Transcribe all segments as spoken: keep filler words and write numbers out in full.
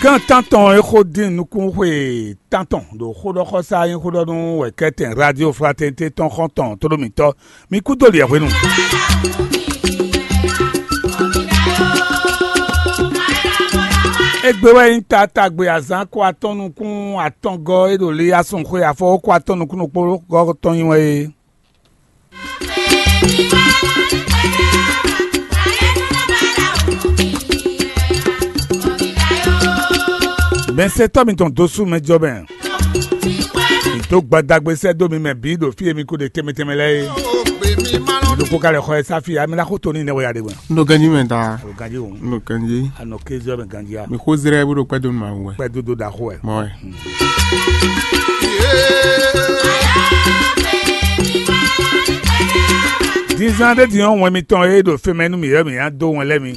Tán tántɔn e xó dín nukúnxwe tántɔn ɖo xóɖɔxɔsá nyí xóɖɔnú wɛ kɛ́tɛn Radio Fraternité tɔn xɔ́ntɔn tóɖómítɔ́ mi kú dó liɛ hwenu. Égbé wɛ nyí taatagbe azǎn ko atɔ́n nukún atɔngɔ́ e ɖo Liyasun xwe afɔ ko atɔ́n nukún ɖokpó gɔ́ tɔn nyí wɛ é. Mɛsɛtɔ́ mitɔn dó sú mɛ jɔ mɛ. Mi dó gbadagbe sɛ́ dó mi mɛ bǐ ɖo fí e mi ko ɖe tɛnmɛ tɛnmɛ lɛ́ɛ é. Mi ɖokpó ka lɛ xɔ ɛ sáfi ǎ, mi ná xó to ní nɛ́ wɛ ya ɖe gbɔn. Un ɖo ganjí mɛ ta. O ganjí o. Un ɖo ganjí. A nɔ kézɔ mɛ ganjí a. Mi xó zrɛ bó ɖo kpɛ́ dó nu ma wɛ. Kpɛ́ dó dó ɖaxó wɛ. Mɔ wɛ. Dizan ɖé din ɔ́, wɛn mitɔn e ɖo fɛnmɛ nú mǐ wɛ mǐ ná dó wɛn lɛ́ɛ mi.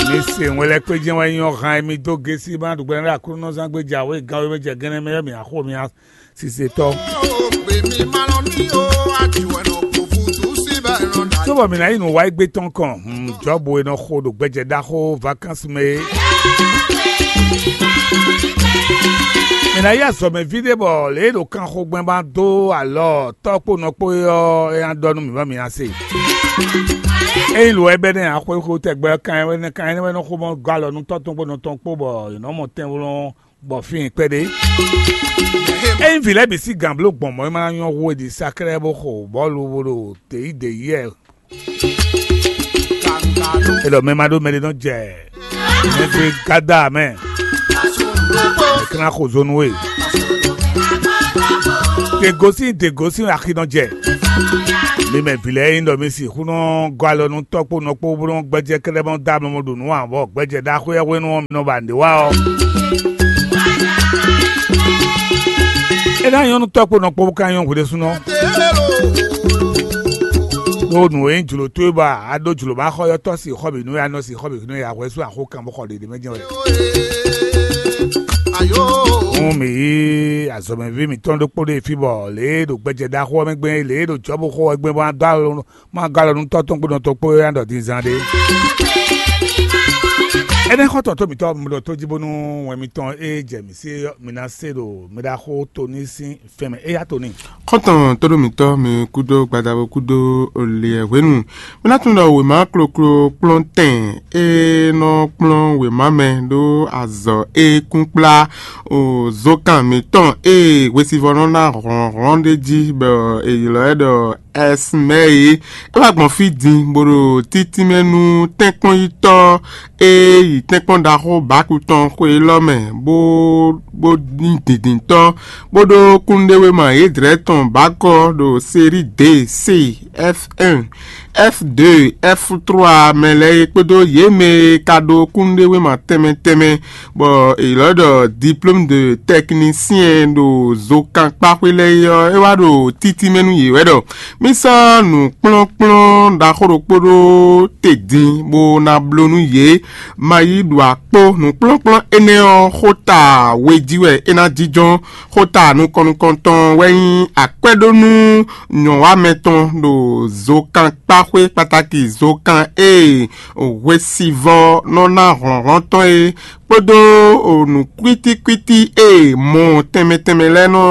Mi se wɛn lɛ́ɛ kpé jɛ́n wɛ nyí ɔ́ han e mi dó gesi ma ɖu gbɛ ɖo Aklúnɔzán gbé jɛ awě gán wé mɛ jɛ gɛ́nɛ mɛ wɛ mǐ ná xo mi ná sisetɔ́. Cóbɔ mǐ ná yi nǔ wa égbé tɔn kɔn, hmm, Jɔ́bu e nɔ xo ɖo gbɛjɛ ɖaxó vakánsi mɛ é. Mǐ ná yi azɔ̌mɛví ɖé bɔ lě e ɖo kanxogbɛn ba dó alɔ tɔ́ kpó nɔ kpó é ɔ́, é ná ɖɔ nú mǐ bɔ mǐ ná se. Ényí lo wɛ bɛ́ nɛ́ ǎ xwéxwé tɛgbɛ ɔ́, kan ɛnɛ́ kan ɛnɛ́ wɛ nɔ xo mɔ gɔ́ alɔ nú tɔ́ tɔn kpó nɔ tɔn kpó bɔ è nɔ mɔ tɛnwlɔ́n bɔ fíin kpɛɖé. Ényí vǐ lɛ́ɛ bǐ sín gǎn bló gbɔn mɔ̌ é ma ná nyɔ́ hú è ɖi saklɛ́ bó xo bɔ̌lu bó ɖo děyíděyí wɛ. É ɖɔ mɛ ma ɖó mɛ ɖé nɔ jɛ mɛ gbe gada mɛ. È ká ná xo zo nú we. Dě gosín dě gosín axi nɔ jɛ. Mi mɛ vǐ lɛ́ɛ nyí ɖɔ mi sixú nɔ gɔ́ alɔ nú tɔ́ kpó nɔ kpó bó nɔ gbɛjɛ kɛ́ɖɛ́ mɔ dó amlɔ ɖo nǔ ǎ, bɔ gbɛjɛ ɖaxó e hwenu ɔ́ mi nɔ ba nǔɖé wa ɔ́. É ná nyɔ́ nú tɔ́ kpó nɔ kpó bó ka nyɔ́ hwe ɖésúnɔ. Ɖó nǔ e nyí jlǒ towe ba a ɖó jlǒ ma xɔ yɔ́tɔ́ sixɔ bǐ nú ya nɔ sixɔ bǐ nú ya hwɛ sú axó kan bó xɔ ɖěɖě mɛ jɛ́n wɛ. Hǔn mǐ yí azɔ̌mɛví mǐtɔn ɖokpó ɖé fí bɔ lě e ɖo gbɛjɛ ɖaxó ɔ́ mɛ gbɛn é, lě e ɖo Jɔ̌bu xó ɔ́ gbɛn bó ná dó alɔ má gɔ́ alɔ nú tɔ́ tɔn kpó nɔ tɔn kpó é ná ɖɔ din zán ɖé. Énɛ́ xɔ́ntɔn tó mǐtɔn mlɔ tó jí bónú wɛn mitɔn e jɛ mǐ sí é ɔ́, mi ná se ɖo mi ɖaxó Toní sín fɛn mɛ. Éyá Toní. Xɔ́ntɔn tóɖó mǐtɔn mi kúdó gbadabo kúdó liɛ hwenu. Mi ná tunwun ɖɔ wěma kloklo kplɔ́ntɛn e nɔ kplɔ́n wěma mɛ ɖó azɔ̌ e kún kplá o zokan mǐtɔn e hwesivɔ́ nɔ ná hlɔ̌nhlɔ́n ɖé jí bɔ è ylɔ́ ɛ ɖɔ Ɛsmɛyi. É wá gbɔn fí din bó ɖo títínmɛ nú tɛ́nkpɔ́nyítɔ́ e yi tɛ́nkpɔ́n ɖaxó Baku tɔn xwe élɔ́ mɛ, bó bó nyí dǐndíntɔ́, bó ɖó kúnnuɖewéma yědrɛ́ tɔn bǎkɔ ɖo Seríi D C, F un, F deux, F trois mɛ lɛ́ɛ é kpódó yě mɛ e ka ɖó kúnnuɖewéma tɛnmɛ tɛnmɛ bɔ è ylɔ́ ɖɔ diplôme de technicien ɖo zokankpaxwé lɛ́ɛ é ɔ́, é wá ɖo títínmɛ nú yě wɛ ɖɔ mì sɔ́ nǔkplɔ́nkplɔ́n ɖaxó ɖokpó ɖó te din bó ná bló nú yě. Ma yi ɖo akpó nǔkplɔ́nkplɔ́n énɛ́ ɔ́, xó ta we jí wɛ é ná jínjɔ́n. Xó ta nukɔn nukɔntɔn wɛ nyí akwɛ́ɖónú nyɔ̌wamɛ tɔn ɖo zokankpaxwé kpataki zokan e hwesivɔ́ nɔ ná hlɔ̌nhlɔ́n tɔn é kpódó nǔ kwítíkwítí e mɔ tɛnmɛ tɛnmɛ lɛ́ɛ nɔ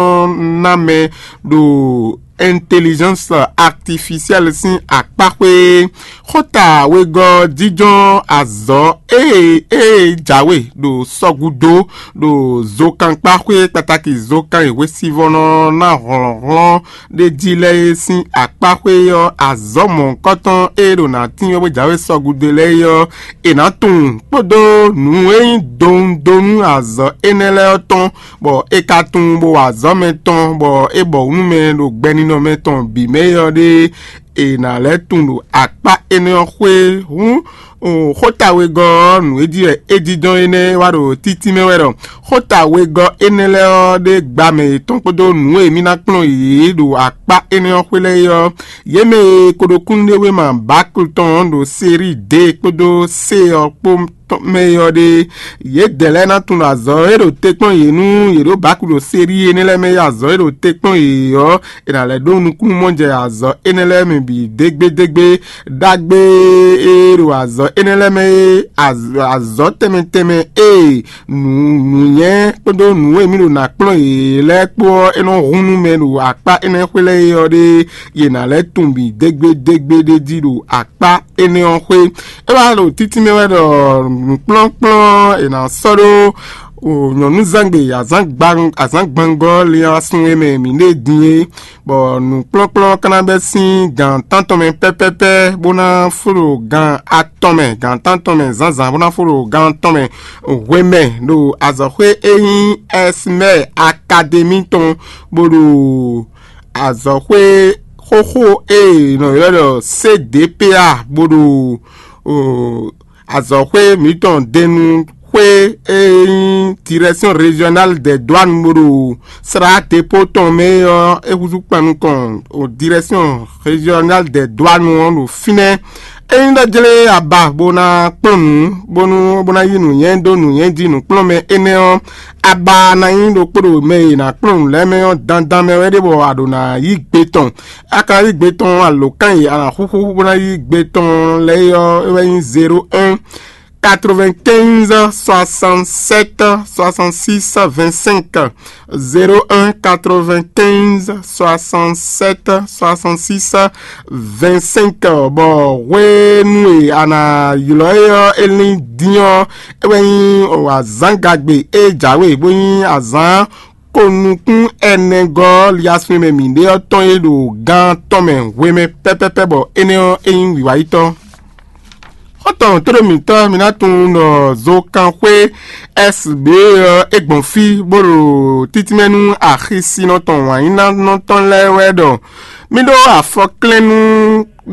ná mɛ ɖo intelligence artificielle sín akpáxwé. Xóta wegɔ́ jínjɔ́n azɔ̌ e e jǎwe ɖo sɔgúdo ɖo zokankpaxwé kpataki zokan e hwesivɔ́ nɔ ná hlɔ̌nhlɔ́n ɖé jí lɛ́ɛ é sín akpáxwé ɔ́, azɔ̌ mɔ̌hunkɔtɔn e ɖo nǎ tín ɔ́ bó jǎwe sɔgúdo lɛ́ɛ é ɔ́, è nǎ tunwun kpódó nǔ e nyí donu donu azɔ̌ énɛ́ lɛ́ɛ ɔ́ tɔn, bɔ é ka tunwun bó wa azɔ̌ mɛ tɔn, bɔ é bɔ nú mɛ ɖo gbɛninɔ mɛ tɔn bǐ mɛ é ɔ́ ɖée, è nǎ lɛ́ tunwun ɖo akpá énɛ́ ɔ́ xwé. Hǔn xóta wegɔ́ ɔ́, nǔ e jí wɛ é jínjɔ́n énɛ́ wá ɖo títí mɛ wɛ ɖɔ xóta wegɔ́ énɛ́ lɛ́ɛ ɔ́ ɖe gba mɛ yětɔn kpódó nǔ e mì ná kplɔ́n yě ɖo akpá énɛ́ ɔ́ xwé lɛ́ɛ é ɔ́, yě mɛ e ko ɖo kúnnuɖewéma Baklu tɔn ɔ́ ɖo Seríi D kpódó C ɔ́ kpó tɔn mɛ é ɔ́ ɖe, yědɛɛ lɛ́ɛ ná tunwun ɖɔ azɔ̌ e ɖo te kpɔ́n yě nú yě ɖo bǎku ɖo séɖíi énɛ́ lɛ́ɛ mɛ é azɔ̌ e ɖo te kpɔ́n yě ɔ́, è nǎ lɛ́ ɖó nukúnnú mɔ jɛ azɔ̌ énɛ́ lɛ́ɛ mɛ bǐ dégbédégbé. Ɖagbe e ɖo azɔ̌ énɛ́ lɛ́ɛ mɛ é, azɔ̌ tɛnmɛ tɛnmɛ e nǔ nǔnyɛ́ kpódó nǔ e mì ɖo nǎ kplɔ́n yě lɛ́ɛ kpó ɔ́, é nɔ hun nú mɛ ɖo akpá énɛ́ xwé lɛ́ɛ é ɔ́ ɖe, yě ná lɛ́ tunwun bǐ dégbédégbé ɖ'é jí ɖo akpá énɛ́ ɔ́ xwé. É wá ɖo títí mɛ wɛ ɖɔ nǔkplɔ́nkplɔ́n è nǎ sɔ́ ɖó nyɔ̌núzangbe azǎngbanggɔ́ linlin asún e mɛ mǐ ɖe din é, bɔ nǔkplɔ́nkplɔ́n ka ná bɛ́ sín gan tántɔn mɛ pɛ́pɛ́pɛ́ bó ná fó ɖo gan atɔn mɛ, gan tántɔn mɛ zǎnzǎn bó ná fó ɖo gan atɔn mɛ hwemɛ ɖo azɔ̌xwé e nyí Ɛsmɛ́ɛ Akademi tɔn, bó ɖo azɔ̌xwé xóxó e è nɔ ylɔ́ ɖɔ C D P A, bó ɖo azɔ̌xwé mǐtɔn denu xwé e nyí Direction Régionale des Douanes bó ɖo sra dépôt tɔn mɛ é ɔ́, é húzú kpan nukɔn Direction Régionale des Douanes ɔ́ ɖo fínɛ́. Ényí ɖɔ jlé aba bó ná kplɔ́n nǔ, bónú bó ná yí nǔnywɛ́ dó nǔnywɛ́ jí nǔkplɔ́nmɛ énɛ́ ɔ́, aba ná nyí ɖokpó ɖo mɛ e è nǎ kplɔ́n nǔ lɛ́ɛ mɛ ɔ́ dandan mɛ wɛ ɖé bɔ a ɖǒ ná yí gbe tɔn. A ka ná yí gbe tɔn alǒkan e a nǎ xúxú bó ná yí gbe tɔn lɛ́ɛ é ɔ́, é wɛ nyí zéro un, quatre-vingt-quinze, soixante-sept, soixante-six, vingt-cinq. Zéro un, quatre-vingt-quinze, soixante-sept, soixante-six, vingt-cinq. Bɔ hwenu e a nǎ ylɔ́ é ɔ́, é lín dín ɔ́, é wɛ nyí azǎngagbe e jǎwe bó nyí azǎn ko nukún ɛnɛgɔ́ ɔ́, liasun e mɛ mǐ ɖe ɔ́ tɔn e ɖo gan tɔn mɛ hwemɛ pɛ́pɛ́pɛ́, bɔ énɛ́ ɔ́, é nyí wǐwáyítɔ́. Xɔ́ntɔn tóɖó mǐtɔn, mi ná tunwun ɖɔ zokanxwé S B ɔ́, é gbɔn fí bó ɖo títínmɛ nú axisinɔ tɔn wǎnyínánɔ tɔn lɛ́ɛ wɛ ɖɔ mí ɖó afɔklɛ́nnú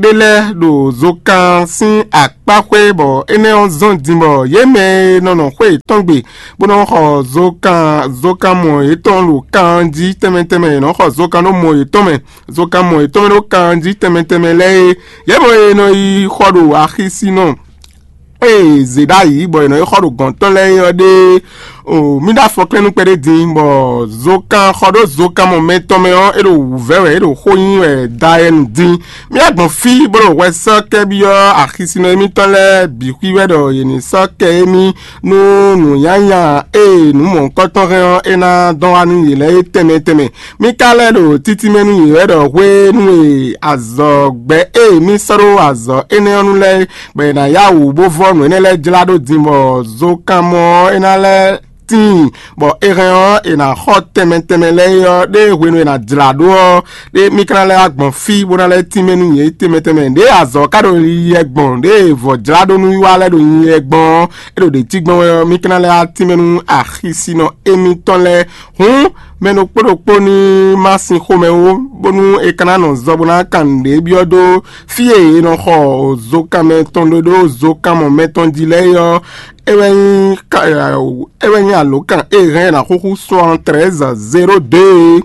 ɖé lɛ́ɛ ɖo zokan sín akpáxwé, bɔ énɛ́ ɔ́ zɔ́n din bɔ yě mɛ e nɔ nɔ xwé yětɔn gbe bó nɔ xɔ zokan zokanmɔ yětɔn ɖo kan jí tɛnmɛ tɛnmɛ, yě nɔ xɔ zokan ɖó mɔ yětɔn mɛ, zokanmɔ yětɔn mɛ ɖó kan jí tɛnmɛ tɛnmɛ lɛ́ɛ é, yě mɔ e nɔ yi xɔ ɖo axisinɔ e zě ɖ'ayǐ bɔ è nɔ yi xɔ ɖo gɔ̌n tɔn lɛ́ɛ é ɔ́ ɖe. O mí ɖo afɔklɛ́nú kpɛɖé din, bɔ zokan xɔ ɖó zokanmɔ mɛtɔn mɛ ɔ́, é ɖo wǔvɛ́ wɛ, é ɖo xó nyi wɛ dayɛnu din. Mí wá gbɔn fí bó ɖo hwɛ sɔ́ kɛ byɔ́ axisinɔ émítɔn lɛ́ɛ bǐ xwí wɛ ɖɔ yě ní sɔ́ kɛ émí nú nǔnyanya e nǔ mɔ̌hunkɔtɔn hɛn ɔ́, é ná dɔn wá nú yě lɛ́ɛ é tɛnmɛ tɛnmɛ. Mí ka lɛ́ ɖo títí mɛ nú yě wɛ ɖɔ hwenu e azɔ̌gbɛ́ e mí sɔ́ ɖó azɔ̌ énɛ́ ɔ́ nu lɛ́ɛ, bɔ è nǎ yá wǔ bó vɔ́ nǔ énɛ́ lɛ́ɛ jlá ɖó din, bɔ zokanmɔ ɔ́ é ná lɛ́ tíin, bɔ è hɛn ɔ́, è nǎ xɔ tɛnmɛ tɛnmɛ lɛ́ɛ é ɔ́, ɖé hwenu e è nǎ jlǎ ɖó ɔ́, ɖé mí ka ná lɛ́ wá gbɔn fí bó ná lɛ́ tínmɛ nú yě tɛnmɛ tɛnmɛ. Ɖěe azɔ̌ ka ɖo yiyi wɛ gbɔn, ɖěe vɔ̌ jlá ɖó nú wiwa lɛ́ɛ ɖo yiyi wɛ gbɔn ɔ́, é ɖo ɖě cí gbɔn wɛ ɔ́, mí ka ná lɛ́ wá tínmɛ nú axisínɔ émítɔn lɛ́ɛ. Hǔn mɛ ɖokpó ɖokpó ní má sin xomɛ ó, bónú è ka ná nɔ zɔ bó ná kan nǔɖé byɔ́ dó fí e è nɔ xɔ zokanmɛ tɔn ɖó ɖó zokanmɔ mɛtɔn jí lɛ́ɛ é ɔ́, é wɛ nyí ka- é wɛ nyí alǒkan e hɛn ná xúxú soixante-treize zéro deux é.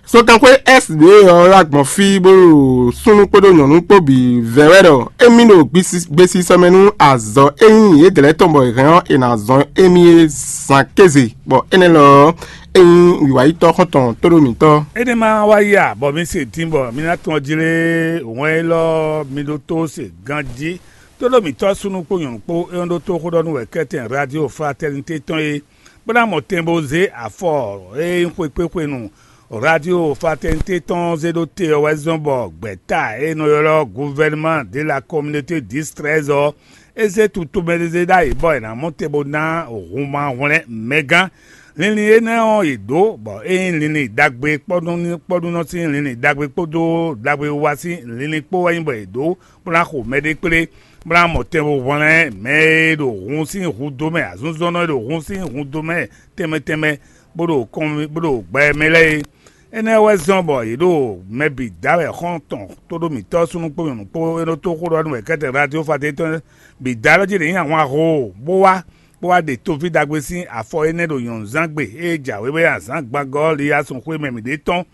Zokanxwé S D ɔ́ wá gbɔn fí bó ɖo súnnu kpódó nyɔ̌nu kpó bǐ vɛ́ wɛ ɖɔ émí ɖo gbesisɔ mɛ nú azɔ̌ e nyí yědɛɛ lɛ́ɛ tɔn bɔ è hɛn ɔ́, è nǎ zɔn émí é zan kéze, bɔ énɛ́ lɔ ɔ́, é nyí wǐwáyítɔ́ xɔ́ntɔn tóɖó mǐtɔn. Énɛ́ ma wá yi a, bɔ mi se din bɔ mi ná tɔn jlé wɛn élɔ́ mi ɖótó se ganjí. Tóɖó mǐtɔn súnnu kpó nyɔ̌nu kpó é nɔ ɖótó xó ɖɔ nú wɛ̌kɛ́tɛn Radio Fraternité tɔn é, bó ná mɔ tɛn bó zé afɔ e nyí xwekpéxwenu Radio Fraternité tɔn zé ɖó te ɔ́ wɛ zɔ́n bɔ gbɛ̌ta e è nɔ ylɔ́ Gouvernement de la Communauté dix treize ɔ́, é zé tutomɛzézé ɖ'ayǐ bɔ è nǎ mɔ te bó ná hunma hwlɛ́n mɛgán. Linlin énɛ́ ɔ́, è ɖǒ bɔ é nyí linlin ɖagbe kpɔ́nú kpɔ́núnɔ sín linlin ɖagbe kpódó ɖagbe wiwa sín linlin kpó wɛ nyí bɔ è ɖǒ bó ná xo mɛɖé kplé, bó ná mɔ tɛn bó hwlɛ́n mɛ e ɖo hun sín hun dó mɛ, azɔ̌nzɔ́nnɔ e ɖo hun sín hun dó mɛ tɛnmɛ tɛnmɛ, bó ɖo kɔn bó ɖo gbɛ mɛ lɛ́ɛ é. Énɛ́ wɛ zɔ́n bɔ yě ɖo mɛ bǐ da wɛ xɔ́ntɔn tóɖó mǐtɔn súnnu kpó nyɔ̌nu kpó e nɔ tó xó ɖɔ nú wɛ̌kɛ́tɛn Radio Fraternité tɔn bǐ da lɔ jí ɖě nyí ahwan ho, bó wá bó wá ɖe toví ɖagbe sín afɔ énɛ́ ɖo nyɔ̌nuzángbe e jǎwe wɛ azǎngbanggɔ́ ɔ́ li yá sun xwé mɛ mǐɖée tɔn,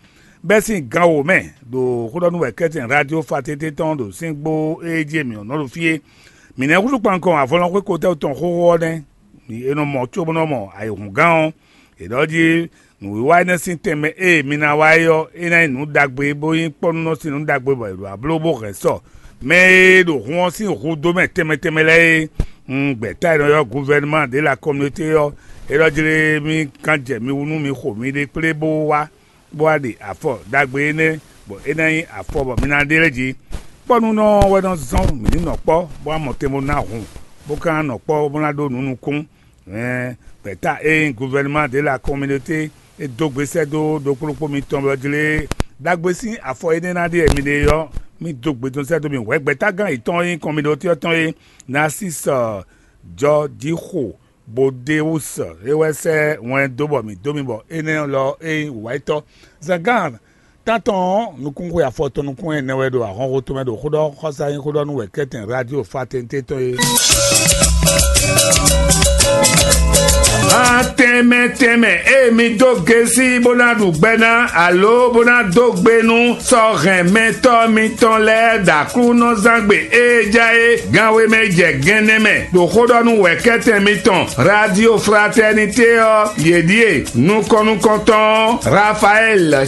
bɛ́ sín gan wǒ mɛ, ɖo xó ɖɔ nú wɛ̌kɛ́tɛn Radio Fraternité tɔn ɖo síngbó e jí mǐ nɔ ɖo fí é. Mǐ nɛ́ húzú kpankɔn avɔlɔnxwé kotɛ́ tɔn xóxó ɔ́ nɛ́. Mǐ e nɔ mɔ cóbó nɔ mɔ ayǐhúngán ɔ́, è ɖɔ jí nǔwiwa énɛ́ sín tɛnmɛ e mi ná wa é ɔ́, é ná nyí nǔ ɖagbe bó nyí kpɔ́núnɔ sín nǔ ɖagbe bɔ è ɖo abló bó hɛn sɔ mɛ e ɖo hun ɔ́ sín hudó mɛ tɛnmɛ tɛnmɛ lɛ́ɛ é. Un gbɛ̌ta e nɔ ylɔ́ guvɛnuma de la kɔminɔté ɔ́, é ɖɔ jlé mì kan jɛ mi wú nú mi xo miɖée kplé bó wá bó wá ɖe afɔ ɖagbe énɛ́, bɔ é ná nyí afɔ bɔ mi ná ɖe lɛ́ jí. Kpɔ́núnɔ wɛ nɔ zɔ́n mǐ ní nɔ kpɔ́, bó wá mɔ tɛn bó ná hun, bó ka ná nɔ kpɔ́ bó ná ɖó nǔ nukún. Ɛn gbɛ̌ta e nyí guvɛnuma de la kɔminɔté e dó gbe sɛ́ dó ɖokpóɖokpó mitɔn wɛ jlé ɖagbe sín afɔ énɛ́ ná ɖe mi ɖe ɔ́, mì dó gbe dó sɛ́ dó mi hwɛ̌ gbɛ̌tágán yětɔn e nyí kɔminɔté ɔ́ tɔn é, Narcisse Jɔjíxo Bodéus é wɛ sɛ́ wɛn dó bɔ mǐ dó mi bɔ énɛ́ lɔ é nyí wǔwáyítɔ́. Zǎngán tántɔn ɔ́, nukúnxwe afɔtɔn nukún ɛnɛ wɛ ɖo ahɔnxo tɔn mɛ ɖo xó ɖɔ xɔsa nyí xó ɖɔ nú wɛ̌kɛ́tɛn Radio Fraternité tɔn é. Atɛnmɛ tɛnmɛ e mi dó gesi bó ná ɖu gbɛ ná alo bó ná dó gbe nú sɔ́ hɛn mɛtɔ́ mitɔn lɛ́ɛ ɖo Aklúnɔzángbe e ja é gánwé mɛ jɛ gɛnnɛ mɛ ɖo xó ɖɔ nú wɛ̌kɛ́tɛn mitɔn Radio Fraternité ɔ́, yě ɖíe nukɔn nukɔntɔn Rafael